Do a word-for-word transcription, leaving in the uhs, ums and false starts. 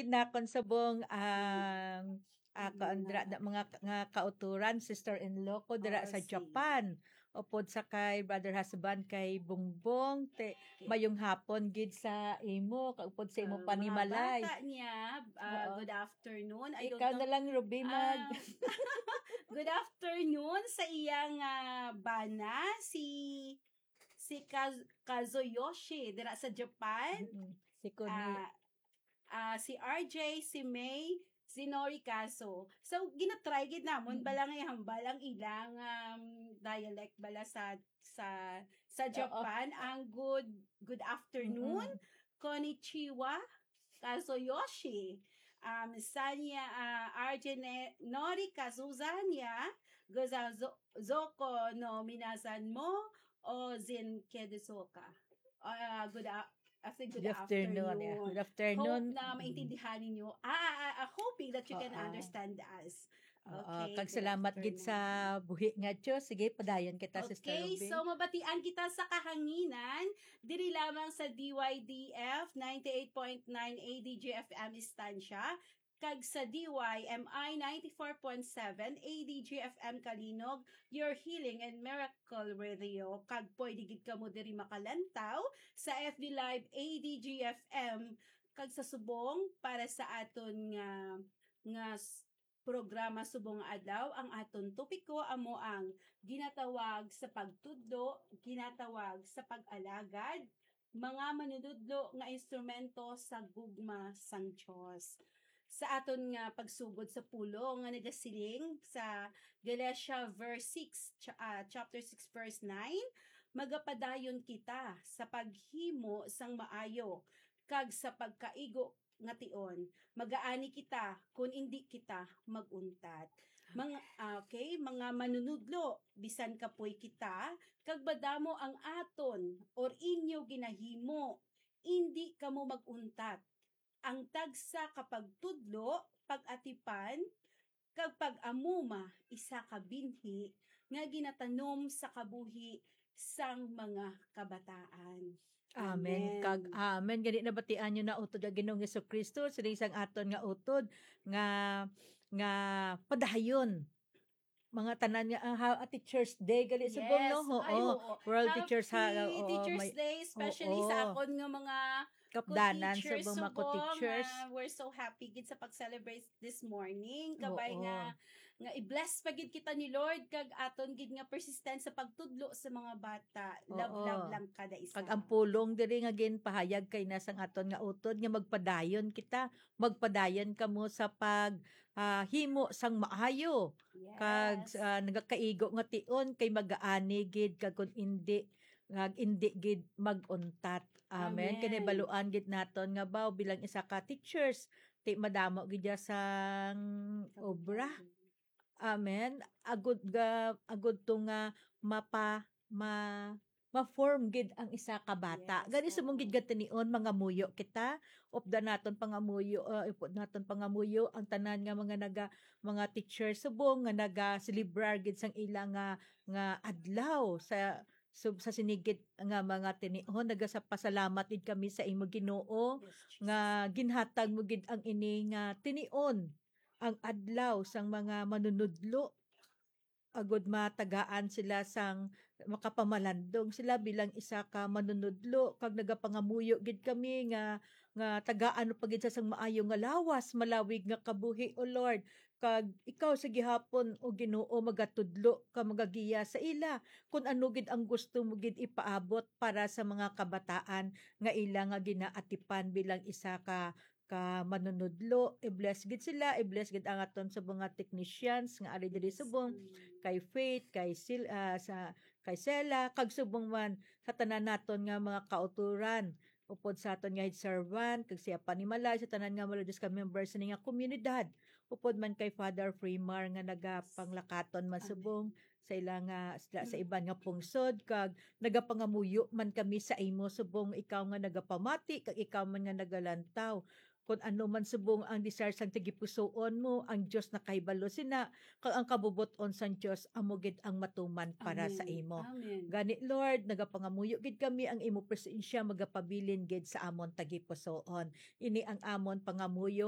Nakon subong ang, ah, Mm, kaandra na na mga ka-, nga kauturan, sister-in-law ko dira Oh, sa si Japan. Upod sa kay brother husband kay Bongbong, te, Okay. mayong hapon gid sa imo, kag upod sa imo Ah, mga panimalay. bata niya, ah, Oo. good afternoon. I don't Ikaw know. na lang, Ruby, mag- Ah, good afternoon sa iyang, ah, bana, si, si Kaz-, Kazuyoshi, dira sa Japan. Mm-mm. Si Kuni. Ah, ah, si R J, si May, si Nori Kaso. So, ginatry gid namon Mm. bala nga ihambal ang ilang, um, dialect bala sa, sa, sa Oo. Japan, ang good, good afternoon, Mm-mm. konnichiwa, kazuyoshi. Um, sanya, ah, R J ne-, Nori Kazu sanya, goza zo-, zoko no minasan mo, o zen kedesoka. Ah, good a-, I think good Good afternoon, yeah. afternoon. Good afternoon. Hope na Mm. maintindihan ninyo. Ah, ah, ah, ah, hoping that you can Oo. understand us. Oo, Okay, kag good salamat gid afternoon. sa buhi nga Diyos. Sige, padayon kita, Sister Okay, Ruby. so mabatian kita sa kahanginan, diri lamang sa D Y D F ninety-eight point nine A D G F M Estancia, kag sa D Y M I ninety-four point seven A D G F M Kalinog, your healing and miracle radio. Kag pwede gid kamo diri makalantaw sa F B Live A D G F M, kag sa subong para sa aton nga, nga s-, programa subong nga adlaw, ang aton topiko amo ang ginatawag sa pagtudlo, ginatawag sa pag-alagad, mga manunudlo nga instrumento sa gugma sang Dios. Sa aton nga pagsugod sa pulong nga nagasiling sa Galatia verse six, cha-, ah, chapter six, verse nine, magapadayon kita sa paghimo sang maayo kag sa pagkaigo nga tion. Magaani kita kon indi kita mag-untat. Mga, ah, okay, mga manunudlo, bisan kapoy kita, kag madamo ang aton or inyo ginahimo, indi kamo mag-untat. Ang tagsa ka pagtudlo, pag-atipan, kag pag-amuma, isa ka binhi nga ginatanom sa kabuhi sang mga kabataan. Amen. Amen. Kag amen. Gani nabatian nyo na utod ang Ginoong Jesu-Cristo, sining sang aton nga utod nga, nga padayon. Mga tanan nga, ah, ha-, ah, Teachers Day, gali subong, no? Yes. Ay, Oo. oo. World Teachers, ha, Happy oo, Teachers may, Day, especially sa oo. akon nga mga Kapdanan, ko-teachers subong, mga subong, ko-teachers. ah, we're so happy gid sa pag-celebrate this morning. Kabay Oo. nga, nga i-bless pa gid kita ni Lord, kag aton gid nga persistent sa pagtudlo sa mga bata. Love, Oo. love lang kada isa. Kag ang pulong diri nga ginpahayag kay na sang aton nga utod nga magpadayon kita, magpadayon kamo sa pag, ah, himo sang maayo. Kag, Yes. ah, nagakaigo nga tion kay magaani gid, kag kun indi, kag indi gid mag-untat. Amen. Amen. Kay nahibaluan gid naton nga baw bilang isa ka teachers, ti madamo gid ya sang obra. Amen. Agud ga, agud to nga mapa-, ma-, ma-form gid ang isa ka bata. Yes, Gani subong gid oo. gatinion, mangamuyo kita. Updan naton pangamuyo, ah, upod naton pangamuyo ang tanan nga mga naga-, mga teacher subong nga naga-celebrar gid sang ila nga, nga adlaw sa, sub-, sa sini gid nga mga tinion. Nagasapasalamat gid kami sa imo, Ginoo, Yes, Jesus. nga ginhatag mo gid ang ini nga tinion, ang adlaw sang mga manunudlo, agud matagaan sila sang makapamalandong sila bilang isa ka manunudlo, kag nagapangamuyo gid kami nga, nga tagaan pa gid sa sang maayo nga lawas, malawig nga kabuhi, O Lord. Kag ikaw sa gihapon, O Ginoo, magatudlo ka, magagiya sa ila kun ano gid ang gusto mo gid ipaabot para sa mga kabataan nga ila nga ginaatipan bilang isa ka ka manunudlo. I-bless gid sila, i-bless gid ang aton subong nga technicians nga ari diri subong, kay Faith, kay Sil-, ah, sa, kay Sela, kag subong man sa tanan naton nga mga kauturan, upod sa aton nga head servant, kag siya panimalay sa tanan nga mga religious ka members sini nga komunidad, upod man kay Father Freemar nga nagapanglakaton man Amen. subong sa ila nga, sa, sa Mm. iban nga pungsod, kag nagapangamuyo man kami sa imo subong ikaw nga nagapamati, kag ikaw man nga nagalantaw. Kun ano man subong ang desire sang tagipusoon mo, ang Dios nakahibalo sina, kag ang kabubot-on sang Dios amo gid ang matuman para sa Amen. imo. Amen. Gani, Lord, nagapangamuyo gid kami ang imo presensya magapabilin gid sa amon tagipusoon. Ini ang amon pangamuyo